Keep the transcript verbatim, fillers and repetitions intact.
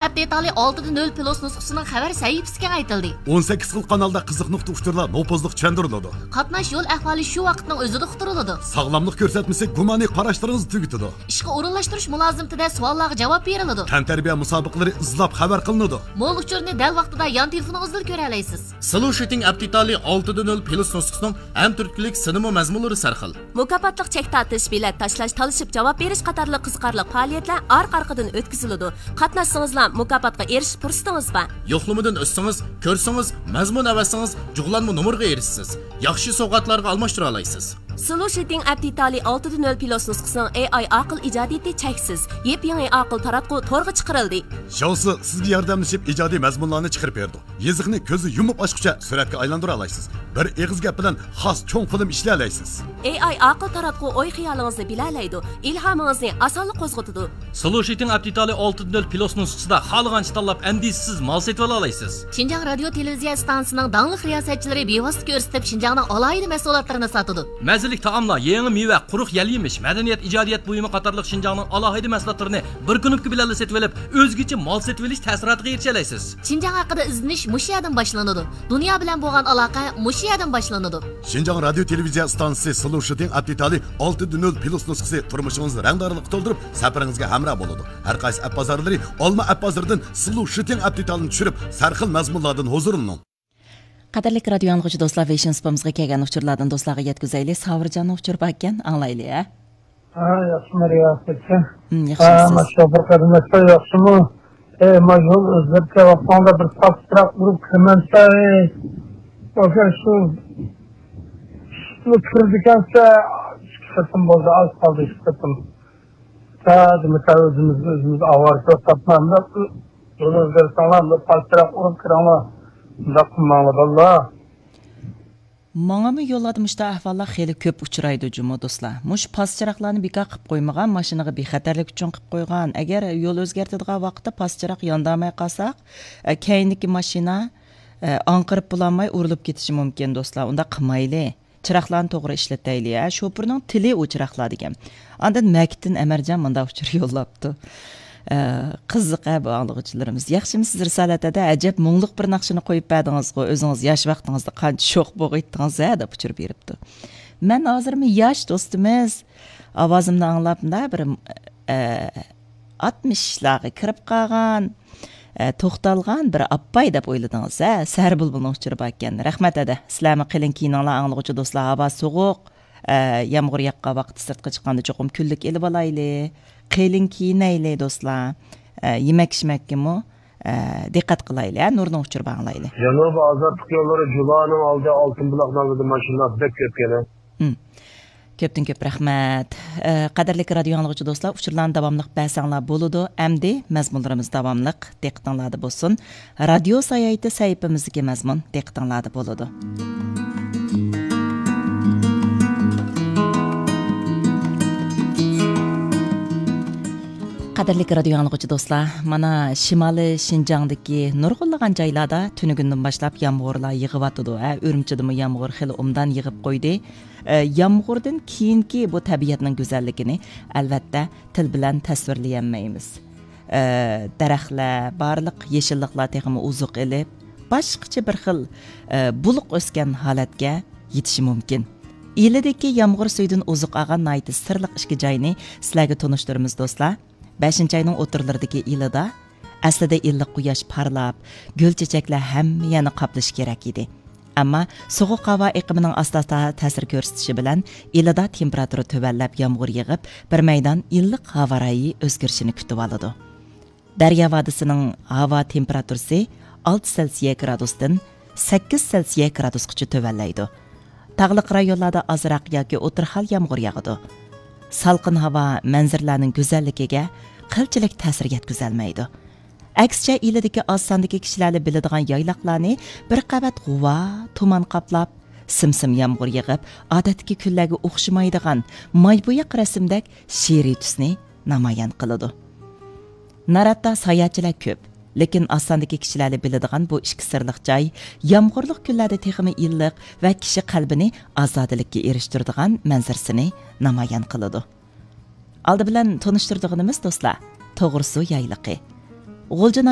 ئەپ دېتالى ئالتىدە نۆل پلۇس نۇسخىسىنىڭ خەۋەر سەھىپىسى كېڭەيتىلدى. ئون سەككىز خىل قانالدا قىزىق نۇقتا ئۇچۇرلار نوپۇزلۇق چۈشەندۈرۈلىدۇ. قاتناش يول ئەھۋالى شۇ ۋاقىتنىڭ ئۆزىدە ئۇقتۇرۇلىدۇ. ساغلاملىق كۆرسەتمىسى گۇمانىي قاراشلىرىڭىزنى تۈگىتىدۇ. ئىشقا ئورۇنلاشتۇرۇش مۇلازىمىتىدە سوئاللارغا جاۋاب بېرىلىدۇ. تەنتەربىيە مۇسابىقىلىرى ئىزلاپ خەۋەر قىلىنىدۇ. مول ئۇچۇرنى دەل ۋاقتىدا يان تېلېفونىڭىزدىلا كۆرەلەيسىز. سلوشىتىڭ ئەپ دېتالى ئالتىدە نۆل پلۇس نۇسخىسىنىڭ ھەم تۈرتكىلىك سىنىمۇ مەزمۇنلىرى سەرخىل. مۇكاپاتلىق چەك تارتىش، بېلەت تاشلاش، تالىشىپ جاۋاب بېرىش قاتارلىق قىزىقارلىق پائالىيەتلەر ئارقا-ئارقىدىن ئۆتكۈزۈلىدۇ. قاتناشسىڭىزلا مۇكاپاتقا ئېرىشىش پۇرسىتىڭىز بار. يوقلىمىدىن ئۆتسىڭىز، كۆرسىڭىز، مەزمۇن ئەۋەتسىڭىز، جۇغلانما نومۇرغا ئېرىشىسىز. ياخشى سوۋغاتلارغا ئالماشتۇرالايسىز. سلوشىتىڭ ئەپ دېتالى ئالتىدە نۆل پلۇس نۇسخىسىنىڭ ئېي ئاي ئاقىل ئىجادىيىتى چەكسىز. يېپيېڭى ئاقىل تاراتقۇ تورغا چىقىرىلدى. شاۋسى سىزگە ياردەملىشىپ ئىجادىي مەزمۇنلارنى چىقىرىپ بېرىدۇ. يېزىقنى كۆزى يۇمۇپ ئاچقۇچە سۈرەتكە ئايلاندۇرالايسىز. بىر ئېغىز گەپ بىلەن خاس چوڭ فىلىم ئىشلىيەلەيسىز. ئېي ئاي ئاقىل تاراتقۇ ئوي-خىيالىڭىزنى بىلەلەيدۇ، ئىلھامىڭىزنى ئاسانلا قوزغىتىدۇ. سلوشىتىڭ ئەپ دېتالى ئالتىدە نۆل پلۇس نۇسخىسىدا خالىغانچە تاللاپ، ئەندىشىسىز مال سېتىۋالالايسىز. شىنجاڭ رادىيو تېلېۋىزىيە ئىستانسىسىنىڭ داڭلىق رىياسەتچىلىرى بىۋاسىتە كۆرسىتىپ، شىنجاڭنىڭ ئالاھىدە مەھسۇلاتلىرىنى ساتىدۇ. مەززىلىك تائاملار، يېڭى مېۋە، قۇرۇق يەل-يېمىش، مەدەنىيەت، ئىجادىيەت بۇيۇمى قاتارلىق شىنجاڭنىڭ ئالاھىدە مەھسۇلاتلىرىنى بىر كۇنۇپكا بىلەنلا سېتىۋېلىپ، ئۆزگىچە مال سېتىۋېلىش تەسىراتىغا ئېرىشەلەيسىز. شىنجاڭ ھەققىدە ئىزدىنىش مۇشۇ يەردىن باشلىنىدۇ. دۇنيا بىلەن بولغان ئالاقە مۇشۇ يەردىن باشلىنىدۇ. شىنجاڭ رادىيو تېلېۋىزىيە ئىستانسىسى سلوشىتىڭ ئەپ دېتالى ئالتىدە نۆل پلۇس نۇسخىسى تۇرمۇشىڭىزنى رەڭدارلىققا تولدۇرۇپ، سەپىرىڭىزگە ھەمراھ بولىدۇ. ھەر قايسى ئەپ بازارلىرى ئالما ئەپ بازىرىدىن سلوشىتىڭ ئەپ دېتالىنى چۈشۈرۈپ، سەرخىل مەزمۇنلاردىن ھۇزۇرلىنىڭ. قەدىرلىك رادىيو ئاڭلىغۇچى دوستلار، ۋېيشىن سۇپىمىزغا كەلگەن ئۇچۇرلاردىن دوستلارغا يەتكۈزەيلى. ساۋۇرجاننىڭ ئۇچۇرى بار ئىكەن، ئاڭلايلى، ھە؟ ھە، ياخشىمۇ رىياسەتچى؟ ھە، ياخشىمۇ سىز؟ ماشۇ بىر قېرىنداشلار ياخشىمۇ؟ ئەي، مانا يول ئۆزگەرتكەن ۋاقتىڭدا بىر تاس چىراغ ئۇرۇپ كىرمەمسە، ئەي. ئۆزگەر شۇ، شۇ كىرىدىكەنسە، ئىككى قېتىم بولدى، ئاز قالدى ئىككى قېتىم. تازىمۇ تا ئۆزىمىزنى ئۆزىمىز ئاۋارە قىلىپ تاپمايمىز. يول ئۆزگەرتسەڭلار، بىر پاس چىراغ ئۇرۇپ كىرىڭلار. مۇنداق قىلماڭلار، بالىلار. ماڭىمۇ يوللاردا مۇشۇنداق ئەھۋاللار خېلى كۆپ ئۇچرايدۇ جۇمۇ، دوستلار. مۇشۇ پاس چىراغلارنى بىكار قىلىپ قويمىغان، ماشىنىغا بىخەتەرلىك ئۈچۈن قىلىپ قويغان. ئەگەر يول ئۆزگەرتىدىغان ۋاقىتتا پاس چىراغ ياندىماي قالساق، ئە، كەينىدىكى ماشىنا، ئە، ئاڭقىرىپ بولالماي ئۇرۇلۇپ كېتىشى مۇمكىن، دوستلار. ئۇنداق قىلمايلى. چىراغلارنى توغرا ئىشلىتەيلى، ھە، شوپۇرنىڭ تىلى ئۇ چىراغلار دېگەن. ئاندىن مەكىتتىن ئەمەرجان مۇنداق ئۇچۇر يوللاپتۇ. ئە، قىزىق، ھە، بۇ ئاڭلىغۇچىلىرىمىز. ياخشىمۇ سىز رىسالەت ھەدە؟ ئەجەب مۇڭلۇق بىر ناخشىنى قويۇپ بەردىڭىزغۇ، ئۆزىڭىز ياش ۋاقتىڭىزدا قانچە شوخ بوغۇيتتىڭىز، ھە، دەپ ئۇچۇر بېرىپتۇ. مەن ھازىرمۇ ياش، دوستىمىز. ئاۋازىمنى ئاڭلاپ، مۇنداق بىر، ئە، ئاتمىشلارغا كىرىپ قالغان، ئە، توختالغان بىر ئاپپاي دەپ ئويلىدىڭىز، ھە؟ سەھەر بۇلبۇلنىڭ ئۇچۇرى بار ئىكەن. رەھمەت، ھەدە. سىلەرمۇ قېلىن كىيىنىڭلار، ئاڭلىغۇچى دوستلار، ھاۋا سوغۇق. ئە، يامغۇر ياغقان ۋاقىتتا سىرتقا چىققاندا چوقۇم كۈنلۈك ئېلىۋالايلى. قېلىن كىيىنەيلى، دوستلار. ئە، يېمەك ئىچمەككىمۇ، ئە، دىققەت قىلايلى، ھە؟ نۇرنىڭ ئۇچۇرى بار، ئاڭلايلى. جەنۇبىي ئازادلىق يوللىرى جۇلانىڭ ئالدى ئالتۇن بۇلاقنىڭ ئالدىدا ماشىنىلار بەك كۆپ كەلدى. مم. كۆپتىن كۆپ رەھمەت. ئە، قەدىرلىك رادىيو ئاڭلىغۇچى دوستلار، ئۇچۇرلارنى داۋاملىق بەرسەڭلار بولىدۇ. ئەمدى مەزمۇنلىرىمىز داۋاملىق دىققىتىڭلاردا بولسۇن. رادىيو ساياھىتى سەھىپىمىزدىكى مەزمۇن دىققىتىڭلاردا بولىدۇ. قەدىرلىك رادىيو ئاڭلىغۇچى دوستلار، مانا شىمالىي شىنجاڭدىكى نۇرغۇنلىغان جايلاردا تۈنۈگۈندىن باشلاپ يامغۇرلار يېغىۋاتىدۇ. ھە، ئۈرۈمچىدىمۇ يامغۇر خېلى ئوبدان يېغىپ قويدى. ئە، يامغۇردىن كېيىنكى بۇ تەبىئەتنىڭ گۈزەللىكىنى، ئەلۋەتتە، تىل بىلەن تەسۋىرلىيەلمەيمىز. ئە، دەرەخلەر، بارلىق يېشىللىقلار تېخىمۇ ئوزۇق ئېلىپ، باشقىچە بىر خىل، ئە، بۇلۇق ئۆسكەن ھالەتكە يېتىشى مۇمكىن. ئىلىدىكى يامغۇر سۈيىدىن ئوزۇق ئالغان ناھايىتى سىرلىق ئىككى جاينى سىلەرگە تونۇشتۇرىمىز، دوستلار. بەشىنچى ئاينىڭ ئوتتۇرىلىرىدىكى ئىلىدا ئەسلىدە ئىللىق قۇياش پارلاپ، گۈل چېچەكلەر ھەممە يەرنى قاپلىشى كېرەك ئىدى. ئەمما سوغۇق ھاۋا ئېقىمىنىڭ ئاستا-ئاستا تەسىر كۆرسىتىشى بىلەن ئىلىدا تېمپېراتۇرا تۆۋەنلەپ، يامغۇر يېغىپ، بىر مەيدان ئىللىق ھاۋا رايى ئۆزگىرىشىنى كۈتۈۋالىدۇ. دەريا ۋادىسىنىڭ ھاۋا تېمپېراتۇرىسى ئالتە سېلسىيە گرادۇستىن سەككىز سېلسىيە گرادۇسقىچە تۆۋەنلەيدۇ. تاغلىق رايونلاردا ئازراق ياكى ئوتتۇرا خىل يامغۇر ياغىدۇ. سالقىن ھاۋا مەنزىرىلەرنىڭ گۈزەللىكىگە قىلچىلىك تەسىر يەتكۈزەلمەيدۇ. ئەكسىچە، ئىلىدىكى ئاز ساندىكى كىشىلەرلا بىلىدىغان يايلاقلارنى بىر قەۋەت غۇۋا تۇمان قاپلاپ، سىم-سىم يامغۇر يېغىپ، ئادەتتىكى كۈنلەرگە ئوخشىمايدىغان ماي بوياق رەسىمدەك شېئىرىي تۈسنى نامايان قىلىدۇ. ناراتتا ساياھەتچىلەر كۆپ، لېكىن ئاز ساندىكى كىشىلەرلا بىلىدىغان بۇ ئىككى سىرلىق جاي يامغۇرلۇق كۈنلەردە تېخىمۇ ئىللىق ۋە كىشى قەلبىنى ئازادىلىككە ئېرىشتۈرىدىغان مەنزىرىسىنى نامايان قىلىدۇ. ئالدى بىلەن تونۇشتۇرىدىغىنىمىز، دوستلار، توغرىسۇ يايلىقى. غۇلجىنىڭ